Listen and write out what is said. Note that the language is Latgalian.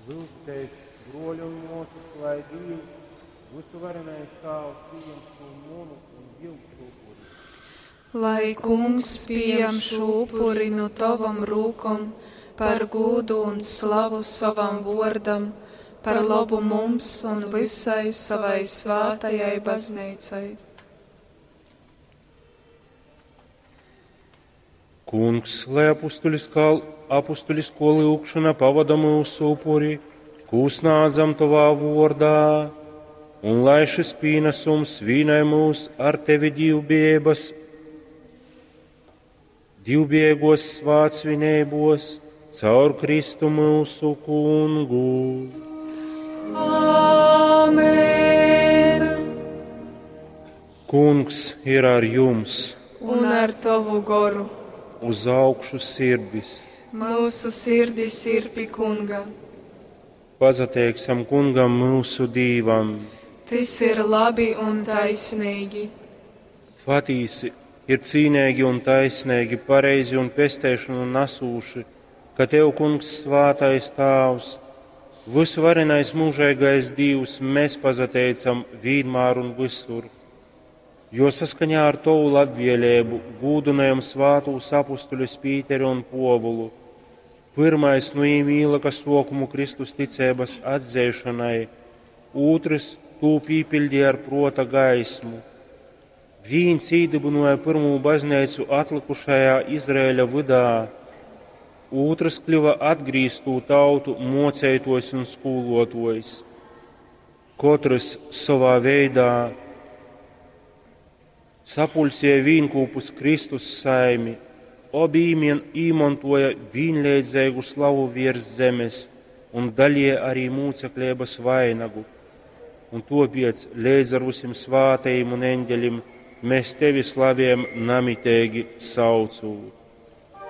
Lyugtēs, bruoļi un muosys, lai Dīvs, vysuvarenais Tāvs, pījam šū munu un jyusu upuri. Lai Kungs pījam šū upuri nu tovom rūkom par gūdu un slavu sovam vuordam, par lobu mums un vysai savai svātajai bazneicai. Kungs, lai apustuliskā, apustulisko lyugšona pavada myusu upuri, kū snādzam tovā vuordā, un lai šis pīnesums vīnoj mūs ar tevi divbiejības, divbiegos svātsvineibos, caur Kristu myusu kungu. Āmen! Kungs ir ar jums, Un ar tovu goru. Uz augšu sirdis. Mūsu sirdis ir pi Kunga. Pazateiksim kungam myusu Dīvam. Tys ir labi un taisnīgi. Patīsi ir cīnīgi un taisnīgi, pareizi un pesteišanu nesūši, ka Tev, Kungs, svātais Tāvs, visuvarenais mūžīgais Dievs, mēs pazateicam vienmēr un visur, jo saskaņā ar Tavu labvēlību gūdinājam svātūs apustuļus Pīteri un Povulu. Pirmais nu viņiem ielika sokumu Kristus ticības atzēšanai, otrs tū pīpildīja ar prota gaismu. Viens īdibināja pirmo baznīcu atlikušajā Izraēļa vydā, otrs kļuva atgrīztū tautu mocētojs un skolotojs. Katrs savā veidā sapulcēja vīnkūpus Kristus saimi, obi īmantoja vienlīdzīgu slavu virs zemes un dalīja arī mūceklības vainagu. Un topiec līdz ar visiem svātajiem un eņģeļiem mēs tevi slavējam namitīgi saucot.